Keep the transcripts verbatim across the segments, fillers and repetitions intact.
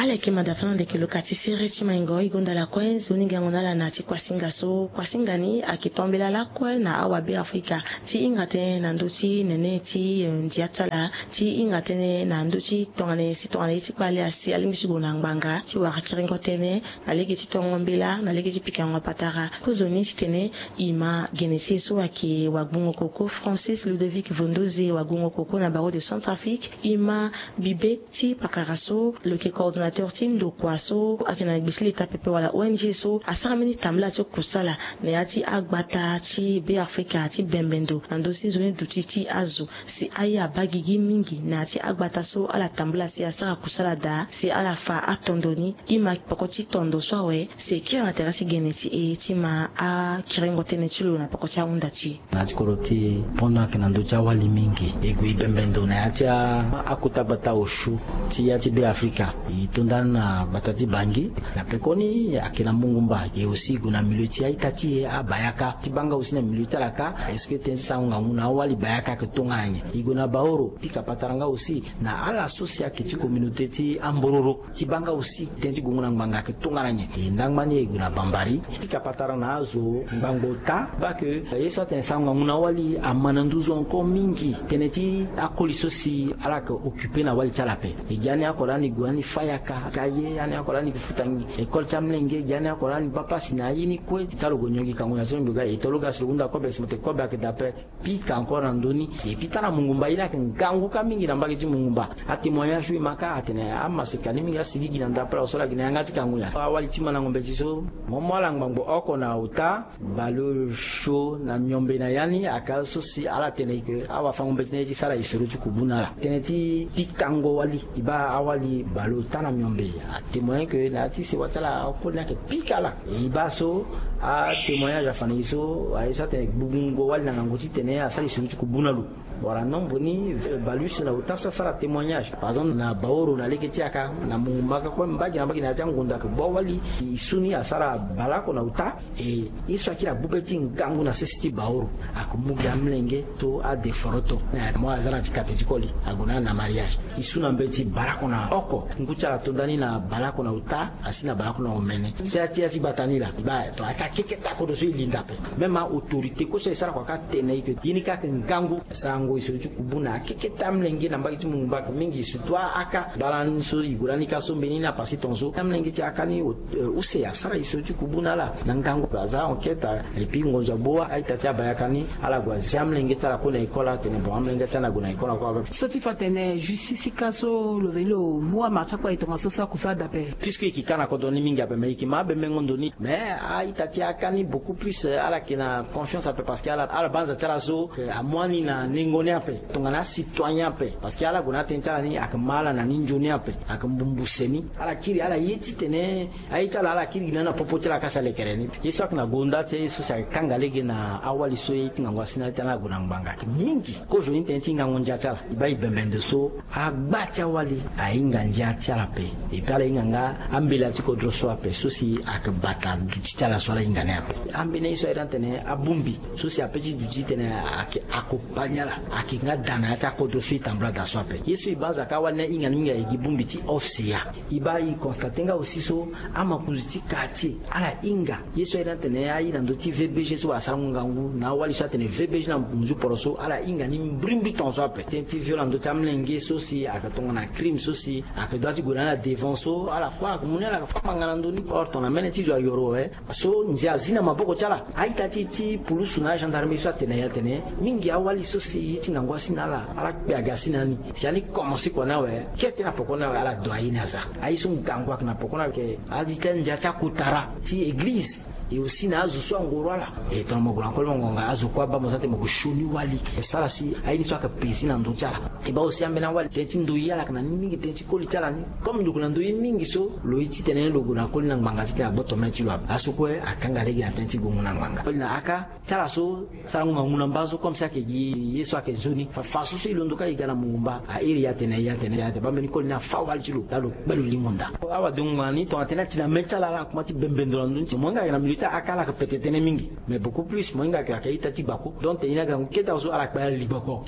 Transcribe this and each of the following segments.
Ala yeke mada fana ndeke lo ka ti sere ti maingo e gonda lakue nzoni ngangu na ala na ti kuasinga so kuasinga ni ayeke tombela lakue na awabe afrika ti hinga tënë na ndö ti nene ti ndia ti ala ti hinga tënë na ndö ti tongana nyen si tongana ye ti kpale asi alingbi ti gue na ngbanga ti wara kiringo tënë na lege ti tongo mbela na lege ti pikango patara. Kozoni titene e ma gene ti e so ayeke wagbungo koko Francis Ludovic Vondoze, wagbungo koko na barreau de Centrafrique. E ma bibe ti pakara so lo yeke coordonnateur ti ndokua so ayeke na gbe ti leta pepe wala O N G so asara mbeni tambula ti kusala na ya ti agbata ti Beafrika ti bembe ndo na ndö ti nzoni duti ti azo. Si aye abaa gigi mingi na ya ti agbata so ala tambula si asara kusala daa si ala fa atondo ni. E ma peko ti tondo so awe si e kiri na tere ti gene ti e ti ma akiringo tënë ti lo na peko ti ahunda ti e. Na ya ti kodro ti e, pendant ayeke na ndö ti awali mingi e gue e bembe ndo na ya ti a- akota gbata osio ti ya ti Beafrika. E to ndani na gbata ti Bangui. Na pekoni ayeke na mungumba e aussi e gue na milieu ti a-ita ti e abayaka ti baa nga aussi na milieu ti ala kâ. Est-ce que tënë ti sarango ngangu na awali bayaka ayeke tongana nyen? E gue na Baoro, pika patara nga aussi na ala so si ayeke ti communauté ti ambororo ti baa nga aussi tënë ti gongo na ngbanga ayeke tongana nyen? E ndangba ni e gue na Bambari, pika patara na azo ngbangbo ota baa ke ye so atene sarango ngangu na awali ama na nduzu encore mingi. Tënë ti akoli so si ala yeke occupé na awali ti ala ape. E gi ani oko lani e gue ani fâ yaka ka ye, ani oko lani e gue futa école ti amolenge, e gi ani oko lani e baa pasi na aye ni kue. Ka lo gue nyongi kango na ti lo mbi ga e to lo ga si lo hunda kobe si mo tene kobe ayeke daa ape. Pika encore na ndö ni. Et puis tara mungumba ye ni ayeke ngangu kâ mingi na mbage ti mungumba. Atémoignage so e ma kâ atene amaseka ni mingi asigigi na ndapre awe so ala gi na yanga ti kango nyen. Awali ti mandango mbeti so mo mu ala ngbangbo oko na ota. Baleosio na miombe na ya ni aka so si ala tene ke awafango mbeti na ye ti sara isoro ti kubu na ala. Tënë ti pikango wali e baa awali baleota na miombe atémoigné ke na ya ti sewa ti ala akoli ni ayeke pika ala. E baa so atémoignage afa na e so aye so atene gbugbungo wali na ngangu titene asara isoro ti kubu na lo. Wala nombre ni, eh, baleuse na ota so asara témoignage. Par exemple na Baoro na lege ti yaka na mungumba ka kue mbage na mbage na ya ti angonda ke bua wali. E su ni asara baleoko na ota. E ye so akiri agbu be ti ngangu na sese ti Baoro. Ayeke mu gi amolenge so adeforoto na mo aza na ti kate ti koli ague na ala na mariage. E su na mbeti baleoko na oko ngu ti ala atonda ni na baleoko na ota asi na baleoko na omene. Si ya ti ya ti gbata ni laa e baa to aka keketa kodro so e linda ape. Même autorité kue so e sara kua ka tene e ke ye ni ka ayeke ngangu. Sarango isoro ti kubu na akeketa amolenge na mbage ti mungumba ayeke mingi surtout aka baleani so e gue lani ka so mbeni na pasi tongaso amolenge ti aka ni. Eh, use asara isoro ti kubu na ala na ngangu aza enquête. Et puis ngonzo agbu a-ita ti abayaka ni ala gue azia amolenge ti ala kue na école atene bon amolenge ti ala na gue na école ako ape. So ti fa tene justice ka so lo veni lo mu amara ti akpa e tongaso so akusala daa ape. Puisque e yeke ka na kodro ni mingi ape mais e yeke ma abembengo ndo ni mais a-ita ti aka ni beaucoup plus, eh, ala yeke na confiance ape parce que ala ala banza ti ala so, eh, amu ani na nengo ni ape. Tongana acitoyen ape parce que ala gue na atënë ti ala ni ayeke ma ala na ni nzoni ape. Ayeke mbumbu se ni ala kiri ala ye titene aye ti ala ala kiri gi na ni na popo ti ala ka si alekere ni. Ye so ayeke na gonda ti aye so si ayeke kanga lege na awali so ye ti ngangu asi na ala ti ala ague na ngbanga ayeke mingi. Kozoni tënë ti ngangu ndia ti ala e baa e bembe ndo so agba ti awali ahinga ndia ti ala ape. Et puis ala hinga nga ambela ti kodro so ape so si ayeke bata duti ti ala so ala hinga ni ape. Ambeni ye so aye ni atene abongbi so si ape ti duti titene ayeke accompagne ala ayeke nga da na ya ti akodro so e tambula daa so ape. Ye so e banza ka awali ni ahinga ni mingi aye gi bongbi ti O F C A. E baa e constate nga aussi so amakonzi ti quartier ala hinga ye so aye ni atene aye na ndö ti V B G so wala sarango ngangu na awali so atene V B G na nzu poro so ala hinga ni mbrimbri tongaso ape. Tënë ti viol na ndö ti amolenge so si ayeke tongana crime so si ayeke dua ti gue na ala devant so ala kue ayeke mu ni ala yeke fâ ngbanga na ndö ni. Or tongana mene ti zo ayoro awe so nze azi na maboko ti ala. A-ita ti e ti pulusu na agendarmerie so atene na e atene mingi awali so si ye ti ngangu asi na ala ala kpe aga asi na ni. Si ani komanse kua ni awe kete na poko ni awe ala do aye ni aza. Aye so ngangu ayeke na poko ni awe ayeke a-ita ti ndia ti akotara ti eglize. E aussi na azo so angoro ala e tongana mo gue na koli mo ngonga azo kue abaa mo za ti mo gue sioni wali e sara si aye ni so ayeke pesi na ndö ti ala. E baa aussi ambeni awali tënë ti ndoye ala yeke na ni mingi tënë ti koli ti ala ni. Comme lo gue na ndoye mingi so lo ye titene lo gue na koli na ngbanga titene agboto mê ti lo ape aso kue akanga lege na tënë ti gongo na ngbanga koli na aka ti ala so sarango ngangu na mba so comme si ayeke gi ye so ayeke nzoni fa fa so so e londo ka e ga na mungu mba a iri ya tene ya tene ya tene baa mbeni koli ni afa wali ti lo laa lo kpe lo lingo nda. Awa dongo ngbanga ni tongana tene ati na mê ti ala ala kuma ti bembe ndo na ndö ni ti mo hinga ayeke na milieu ti aka ala yeke pete tënë mingi. Mais beaucoup plus mo hinga ayeke ayeke a-ita ti gbako donc tene ye ni aga ngu kete awe so ala kpe ala li gbako.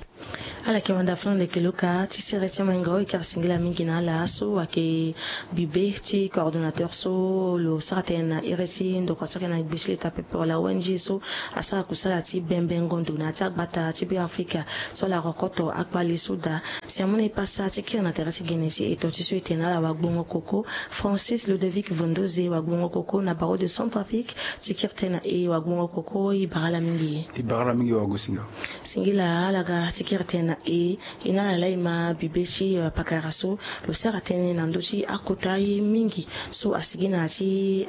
Ala yeke wanda fana ndeke luka ti sere ti maingo e kiri singila mingi na ala so ayeke bibe ti coordonnateur so lo sara tënë na iri ti ndokua so ayeke na gbe ti leta pepe wala O N G so asara kusala ti bembe ngondo na ya ti agbata ti Beafrika so ala rokoto akpali so daa. Si amu na e pasa ti kiri na tere ti gene ti eto ti so e tene na ala wagbongo koko Francis Ludovic Vondoze, wagbongo koko na Barreau de Centrafrique, ti kiri tënë na e. Wagbongo koko, e bara ala mingi. E bara ala mingi wagosinga. Singila ala ga ti kiri tënë na e. E na ala laa e ma bibe ti, eh, pakara so lo sara tënë na ndö ti akota ye mingi so asigi na ya ti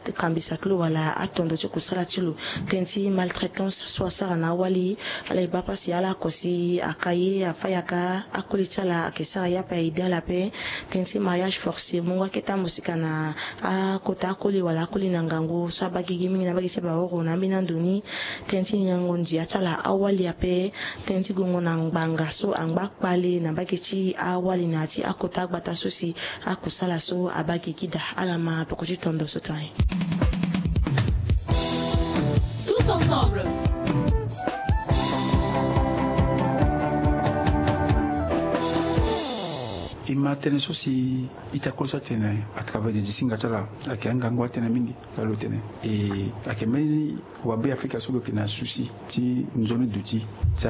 akambisa ti lo wala atondo ti kusala ti lo. Tënë ti maltraitance so asara na awali, ala e baa pasi, ala oko si aka ye, afâ yaka, akoli ti ala ayeke sara ye ape, aide ala ape. Tënë ti mariage forcé, mungo akete amosika na akota akoli wala akoli na ngangu so abaa gigi mingi na mbage ti baworo na ambeni ando ni. Tënë ti nyango ndia ti ala awali ape. Tënë ti gongo na ngbanga so angba kpale na mbage ti awali na ya ti akota agbata so si akusala so abaa gigi daa. Ala ma peko ti tondo so tongae. Tous ensemble. E ma tënë so si ita koli so atene à travers des disinga ti ala ayeke angangu atënë mingi. Laa lo tene e ayeke mbeni wabeafrika so lo yeke na souci ti nzoni duti ti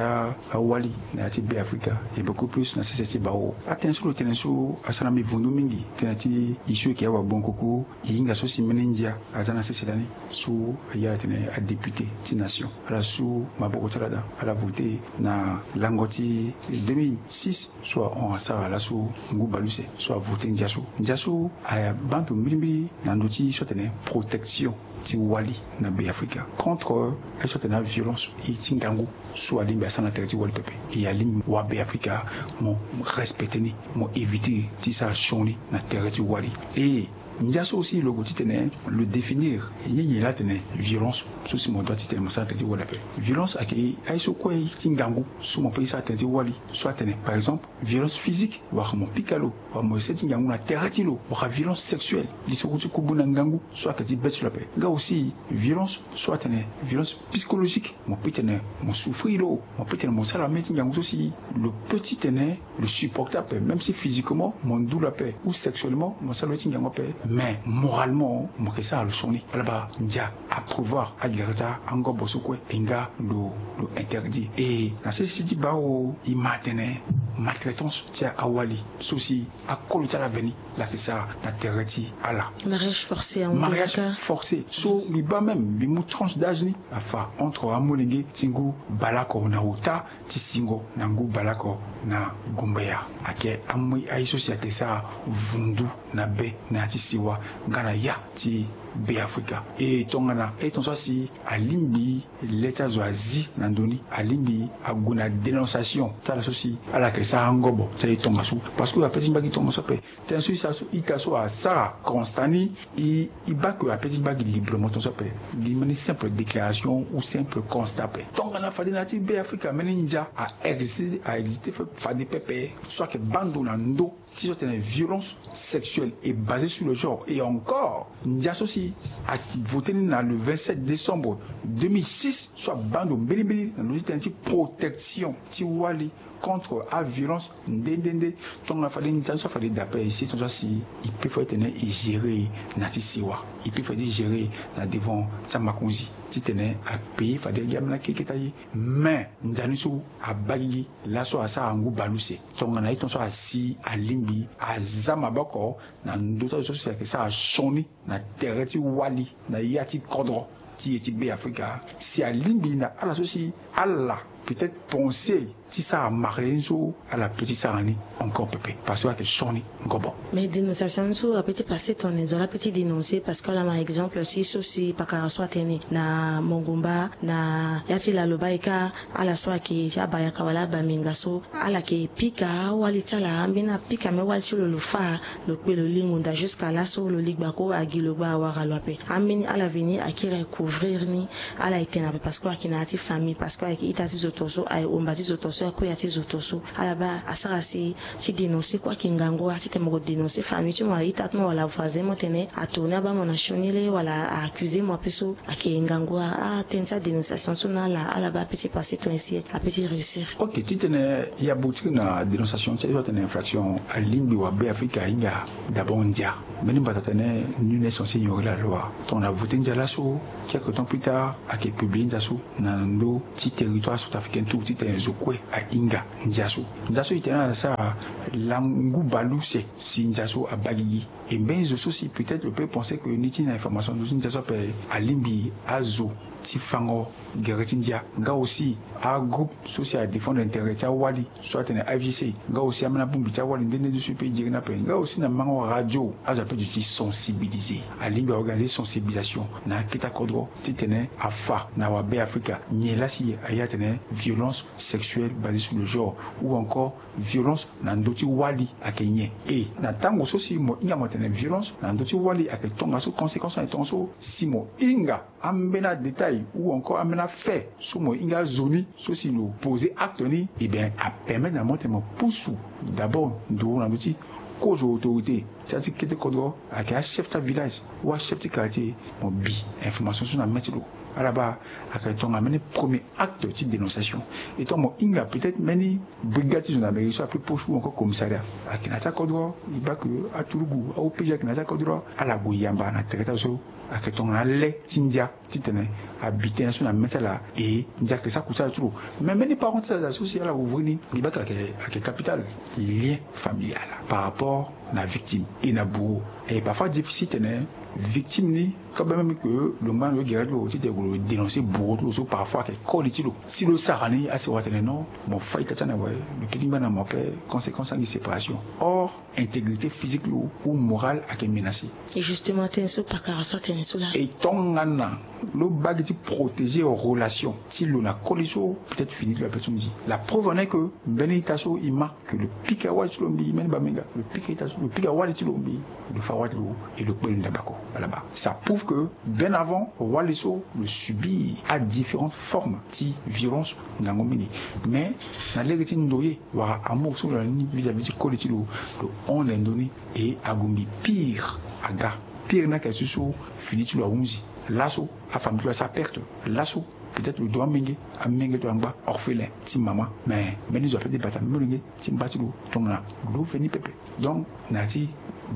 awali na ya ti Beafrika, et beaucoup plus na sese ti bawo. Atënë so lo tene so asara mbi vundu mingi, tënë ti e so e yeke awagbongo koko, e hinga so si mbeni ndia aza na sese lani so aye ala tene adéputé ti nation, ala su maboko ti ala daa, ala voté na lango ti deux mille six so ahon asara laso ngu baleuse so avoté ndia so. Ndia so abaa ndo mbirimbiri na ndö ti so atene protection ti wali na Beafrika contre aye so atene aviolence ti ngangu so alingbi asara na tere ti wali pepe. E alingbi wabeafrika mo respecté ni, mo évité ti sara sioni na tere ti wali. E ndia so aussi lo gue titene lo définir nyen nyen laa atene violence so si mo doit titene mo sara na tere ti wali ape. Violence ayeke aye so kue ti ngangu so mo peut ti sara na tere ti wali, so atene par exemple violence physique, wala mo pika lo, wala mo ese ti ngangu na tere ti lo, wala violence sexuelle, lisoko ti kubu na ngangu so ayeke ti be ti lo ape. Nga aussi violence so atene violence psychologique, mo peut tene mo souffrir lo, mo peut tene mo sara mbeni ti ngangu so si lo peut titene lo supporter ape, même si physiquement mo ndu lo ape ou sexuellement mo sara lo ti ngangu ape, mais moralement mo yeke sara lo sioni. Ala baa ndia aprévoir agere ti angobo so kue, e nga lo, lo interdire. E na sese ti bawo e ma atene maltraitance ti awali so si akolo ti ala veni laa ayeke sara na tere ti ala. Mariage forcé, mariage forcé so mbi baa même mbi mu tranche d'âge ni afa entre amolenge ti ngu baleoko na ota ti singo na ngu baleoko na gumbaya. Ayeke amu aye so si ayeke sara vundu na be na ya ti sewa nga na ya ti Beafrika. E tongana e ton so asi alingbi le ti azo azi na ndö ni, alingbi ague na dénonciation ti ala so si ala yeke sara angobo ti aye tongaso, parce que ape ti mba gi tongaso ape. Tënë so ita so ita so asara constat ni, e e baa ke ape ti mba gi librement tongaso ape, gi mbeni simple déclaration ou simple constat ape. Tongana fade na ya ti Beafrika mbeni ndia a existe, a existe fade pepe so ayeke baa ndo na ndö ti so atene violence sexuelle est basée sur le genre. Et encore ndia so si avoté ni na le vingt-sept décembre deux mille six so abaa ndo mbirimbiri na ndö ti tënë ti protection ti wali contre aviolence nde nde nde. Tongana fade ndia so afade daa ape, e si tongaso asi e peut fade titene e gérer na ti sewa, e peut fade ti gérer na devant ti amakonzi titene apayer fade gi ambeni akeketa ye. Mais ndia ni so abaa gigi laso asara ngu baleuse, tongana aye ton so asi alingbi aza maboko na ndö ti azo so si ayeke sara sioni na tere ti wali na ya ti kodro ti e ti Beafrika, si alingbi na ala so si ala peut-être pensé ti sara marie ni so, ala peut ti sara ni encore pepe parce que ayeke sioni ngobo. Mais dénonciation ni so ape ti passé tongana e zo laa ape ti dénoncer parce que ala ma exemple ti so si pakara so atene na mongumba na ya ti lalo baa e kâ, ala so ayeke ti abayaka wala abaminga so ala yeke pika awali ti ala, ambeni apika me wali ti lo lo fâ, lo kpe lo li ngonda jusqu'à laso lo li gbako agi lo gba awara lo ape. Ambeni ala veni akiri couvrir ni, ala e tene ape parce que ayeke na ya ti famille, parce que ayeke ita ti zo to so, aye omba ti zo to so. Akuya ti zo to so ala baa asara si ti dénoncer kue ayeke ngangu wala titene mo ko dénoncer famille ti mo wala ita ti mo wala voisin mo tene atourner abaa mo na sioni le wala a-accuser mo ape so ayeke ngangu wala atene ti adénonciation so na ala ala baa ape ti passer tongana si ape ti réussir. Ok, titene ya boutique na dénonciation ti aye so atene infraction alingbi wa Be Afrika ahinga d'abord ndia. Mbeni mbata atene nul n'est censé ignorer la loi. Tongana voter ndia laso, quelque temps plus tard ayeke publier ndia so na ndö ti territoire centrafricain tout titene zo kue ahinga ndia so. Ndia so e tene ala sara langu baleuse si ndia so abaa gigi. E mbeni zo so si peut-être lo peut penser que ni ti na information zo ti ndia so ape alingbi azo ti fango gere ti ndia nga aussi agroupe so si adéfendre intérêt ti awali so atene A F J C nga aussi ambeni abongbi ti awali nde nde nde so e peut dire ni ape nga aussi na mango radio azo ape duti sensibiliser. Alingbi aorganiser sensibilisation na akete akodro titene afa na wa Be Afrika nyen laa si aye atene violence sexuelle basée sur le genre ou encore violence na ndö ti wali ayeke nyen. E na tango so si mo hinga mo tene violence na ndö ti wali ayeke tongaso conséquence ayeke tongaso si mo hinga ambeni adétail ou encore ambeni afait so mo hinga azo ni so si lo poser acte ni, e bien apermettre na mo tene mo pusu d'abord nduru na ndö ti kozo autorité ti ya ti kete kodro ayeke achef ti avillage ou achef ti quartier mo bi information so na mê ti lo. Ala baa ayeke tongana mbeni premier acte ti dénonciation. Etant mo hinga peut-être mbeni brigade ti gendarmerie so ape poche ou encore commissariat ayeke na ya ti akodro. E baa ke aturugu a-O P G ayeke na ya ti akodro ala gue yamba na tere ti azo so ayeke tongana le ti ndia titene abi tënë so na mê ti ala. E ndia ayeke sara kusala ti lo. Mais mbeni parent ti ala so si ala ouvrir ni e baa ke ayeke capital lien familial par rapport na victime et na bourreau. Et parfois difficile tene victime ni ka baa même ke lo ngba na lo gere ti lo titene lo dénoncer bourreau ti lo so parfois ayeke koli ti lo si lo sara ni asi wa tene non mo fai ita ti ana awe. Lo peut ti ngba na mo ape conséquence angi séparation. Or intégrité physique lo ou morale ayeke menacé. Et justement atene so pakara so atene so laa e tongana lo baa gi ti protéger relation ti lo na koli so peut-être fini ti lo ape ti lo nzi. La preuve en est que mbeni ita so e ma ke lo pika wali ti lo mbi mbeni bamenga lo pika ita so lo pika wali ti lo mbi lo fa wali ti lo e lo kpe lo ndabako. Ala baa ça prouve que bien avant wali so lo subir adifférentes formes ti violence ngangu mingi. Mais na lege ti ndoye wala amour so lo na ni vis-à-vis ti koli ti lo lo hon na ndö ni. E agumbi pire aga pire ni ayeke so so fini ti lo ahunzi. Laso afamille ti lo asara perte. Laso peut-être lo do amenge amenge ti lo angba orphelin ti mama. Mais mbeni zo ape ti bata molenge ti mba ti lo tongana lo veni pepe. Donc na ya ti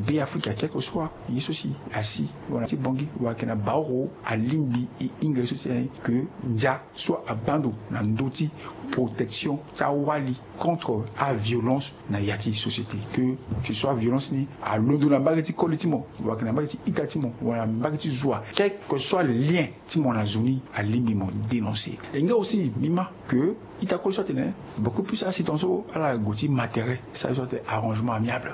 Be Afrika quelque soit ye so si asi wala ti bongi wala ayeke na baoro alingbi e hinga ye so si aye ke ndia so abaa ndo na ndö ti protection ti awali contre aviolence na ya ti société. Que que soit violence ni alondo na mbage ti koli ti mo wala ayeke na mbage ti ita ti mo wala na mbage ti zo wa quelque soit lien ti mo na zo ni alingbi mo dénoncer. E nga aussi mbi ma ke ita koli so atene beaucoup plus asi tongaso ala gue ti ma tere sara ye so atene arrangement amiable.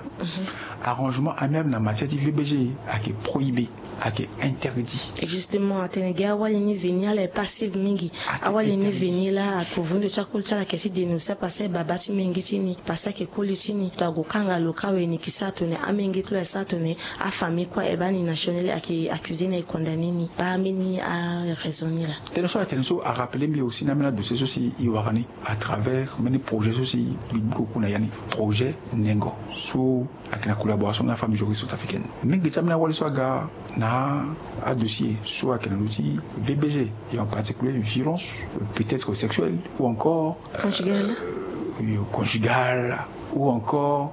Arrangement amiable na matière ti V B G ayeke prohibé. Ayeke interdit. Et justement atene gi awali ni veni ala e passive mingi. Awali ni veni laa akovundo ti akoli ti ala ayeke ti dénoncer parce que baba ti menge ti ni parce que ayeke koli ti ni to ague kanga lo ka awe ni yeke sara tongana amenge ti lo ayeke sara tongana afamille kue aye baa ni na sioni laa ayeke accusé ni ayeke condamné ni baa mbeni araison ni laa. Tënë so atene so arappelé mbi aussi na ambeni adossier so si e wara ni à travers mbeni projet so si mbi gbi koko na ya ni projet nengo so ayeke na collaboration na afamille juriste centrafricaine. Mingi ti ambeni awali so aga na adossier so ayeke na ndö ti V B G et en particulier violence peut-être sexuelle ou encore conjugale ou encore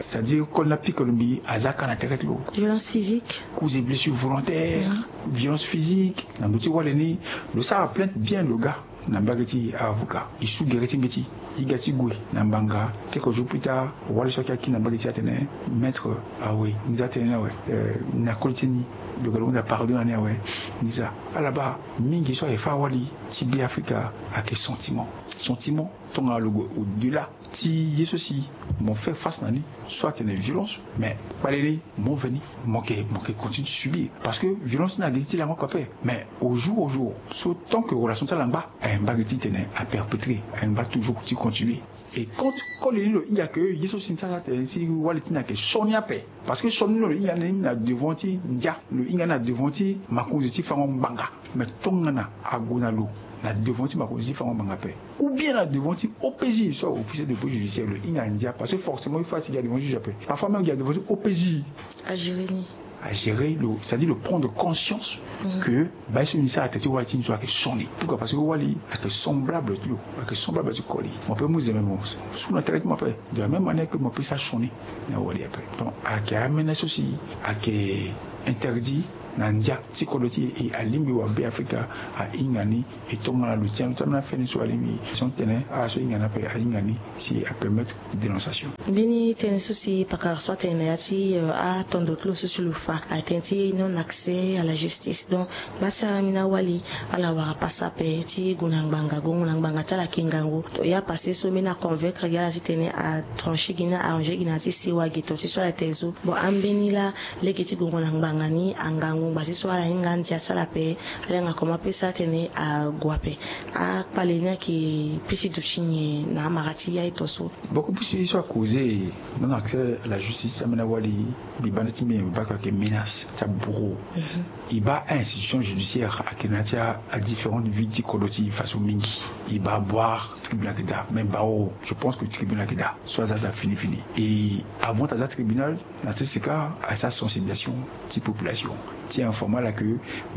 c'est-à-dire koli ni apika lo mbi aza ka na tere ti lo. Violence physique, coups et blessures volontaires, violence physique na ndö ti wali ni. Lo sara plainte bien lo ga na mbage ti avocat e su gere ti mbeti e ga ti gue na mbanga. Quelques jours plus tard wali so ayeke akiri na mbage ti e atene maître awe nza tene ni awe na koli ti ni lo ga lo hunda pardon na ni awe. Nza ala baa mingi so ayeke fâ awali ti Be Afrika ayeke sentiment. Sentiment tongana lo gue au delà ti ye so si mo fait face na ni so atene violence mais kpale ni mo veni mo yeke mo yeke continue ti subir parce que violence ni agi ti lango oko ape. Mais au jour au jour so tant que relation ti ala ngba aye mbage ti tene aperpétrer aye ngba toujours ti continuer. Et quand koli ni lo hinga ke ye so si ni sara tene si wali ti ni ayeke sioni ape parce que sioni ni lo hinga ni na devant ti ndia lo hinga ni na devant ti makonzi ti fango ngbanga. Mais tongana ague na lo na devant ti makonzi ti fango ngbanga ape, ou bien na devant ti O P J, soit officier de police judiciaire, lo hinga ndia, parce que forcément il faut ati gi na devant juge ape. Parfois même gi na devant ti O P J. Algérie ni agérer lo, c'est-à-dire lo prendre conscience que baa ye so ni sara tere ti wali ti ni so ayeke sioni. Pourquoi? Parce que wali ayeke semblable ti lo, ayeke semblable ti koli. Mo pe mu zeme mo su na traitement ape. De la même manière que mo pe sara sioni na wali ape. Donc ayeke amene so si ayeke interdit na ndia ti kodro ti e. E alingbi wabe afrika ahinga ni. E tongana lo tien lo ti amena feni so alingbi si on tene ala so hinga ni ape ahinga ni si apermettre dénonciation. Mbeni tënë so si pakara so atene na ya ti atondo ti lo so si lo fa atene ti non accès à la justice. Donc baa si ala mini awali ala wara pasa ape ti gue na ngbanga, gongo na ngbanga ti ala ayeke ngangu. To ya pase so mbeni aconvaincre gi ala titene atrancher gi ni, arranger gi na ya ti sewa gi to ti so ala tene so. Bon ambeni laa lege ti gongo na ngbanga ni angangu ngba ti so ala hinga andia ti ala ape. Ala hinga comment pe sara tene ague ape. Akpale ni ayeke pisi duti nyen na amara ti ya ito so? Beaucoup plus so akoze non accès à la justice amena wali. Mbi banda ti mbi mbi baka ayeke menace ti abourreau. E baa a-institution judiciaire ayeke na ya ti adifférente vie ti kodro ti e faso mingi. E baa boire tribunal ayeke daa mais bao je pense que tribunal ayeke daa so aza daa fini fini. E avant aza tribunal na sese kâ asara sensibilisation ti population ti informe ala ke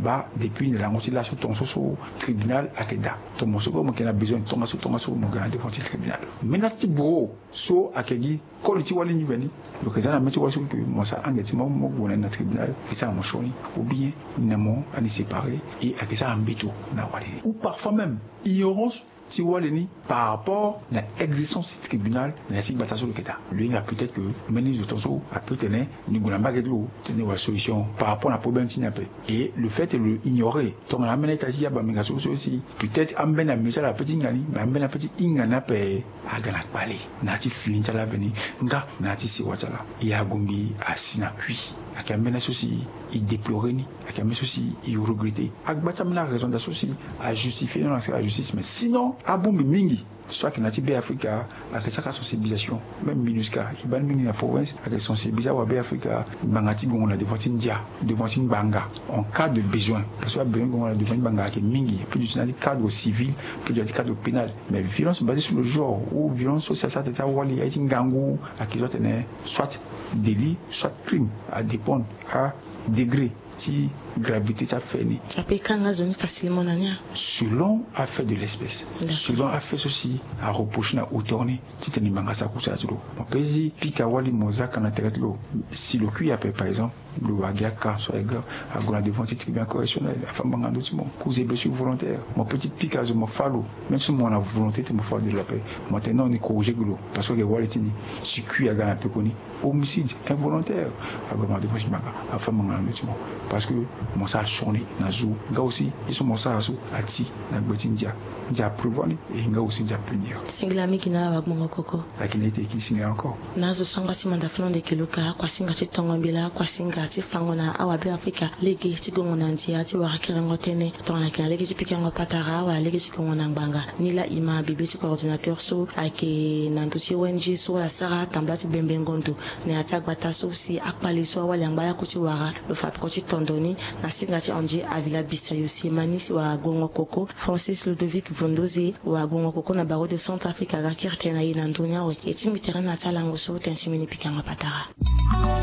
baa depuis na lango ti laso tongaso so tribunal ayeke daa. Tongaso kue mo yeke na besoin tongaso tongaso mo yeke na devant ti tribunal. Menace ti bourreau so ayeke gi koli ti wali ni veni. Lo yeke za na mê ti wali so ke mo sara ange ti mo mo gue na ni na tribunal e sara mo sioni ou bien ni na mo ani séparer. E ayeke sara mbeto na wali ni ou parfois même ignorance ti wali ni par rapport na existence ti tribunal na ya ti gbata so lo yeke daa. Lo hinga peut-être ke mbeni zo tongaso ape tene ni gue na mbage ti lo tene wala solution par rapport na problème ti ni ape. Et le fait lo ignorer tongana amene ita ti ya bambenga so so si peut-être ambeni amio ti ala ape ti hinga ni mais ambeni ape ti hinga ni ape aga na kpale na ya ti fini ti ala veni nga na ya ti sewa ti ala. E agumbi asi na kui. Ayeke ambeni so si e déplorer ni. Ayeke ambeni so si e regretter. Agba ti ambeni araison daa so si ajustifie non accès à la justice mais sinon abongbi mingi so ayeke na ya ti Be Afrika ayeke sara sensibilisation. Même MINUSCA e baa ni mingi na province ayeke sensibiliser awabe Afrika ngbanga ti gongo na devant ti ndia, devant ti ngbanga en cas de besoin. Parce que abesoin ti gongo na devant ti ngbanga ayeke mingi plus du ti na ya ti cadre civil plus du ti na ya ti cadre pénal. Mais violence basée sur le genre ou violence so si asara tere ti awali aye ti ngangu ayeke zo atene soit délit soit crime, adépendre adegré ti gravité ti afait ni. Ape e kanga zo ni facilement na ni a? Selon afait de l'espèce. Selon afait so si areprocher na auteur ni titene ngbanga asara kusala ti lo. Mo pe ti pika wali mo za ka na tere ti lo si lo kui ape par exemple lo wara gi aka so aye grave ague na devant ti tribunal correctionnel afa ngbanga na ndö ti mo cause de blessure volontaire. Mo pe ti pika zo mo fa lo même si mo na volonté ti mo fa lo de la paix mo tene non ni corriger gi lo. Parce que ayeke wali ti ni si kui aga na pekoni homicide involontaire. Ague na devant ti ngbanga afa ngbanga na ndö ti mo. Parce que mo sara sioni na zo nga aussi ye so mo sara so ati na gbe ti ndia. Ndia aprévoir ni e nga aussi ndia apunir. Singila mingi na ala wagbongo koko. Ayeke na ete e kiri singila encore. Na azo sangba ti manda fana ande keloka kuasinga ti tongo mbela kuasinga ti fango na awabe Afrika lege ti gongo na ndia ti wara kerengo tënë tongana ayeke na lege ti pikango patara wala lege ti gongo na ngbanga. Ni laa e ma bibe ti coordinateur so ayeke na ndö ti O N G so ala sara tambula ti bembengo ndo na ya ti agbata so si akpale so awali angba ayako ti wara lo fa peko ti tondo ni na singa ti André Avila Bisayo Siemani si wara gongo koko Francis Ludovic Vondoze wara gongo koko na barreau de Centrafrique aga kiri tënë na e na ndö ni awe. E tingbi tere na ya ti alango so tënë ti mbeni pikango patara.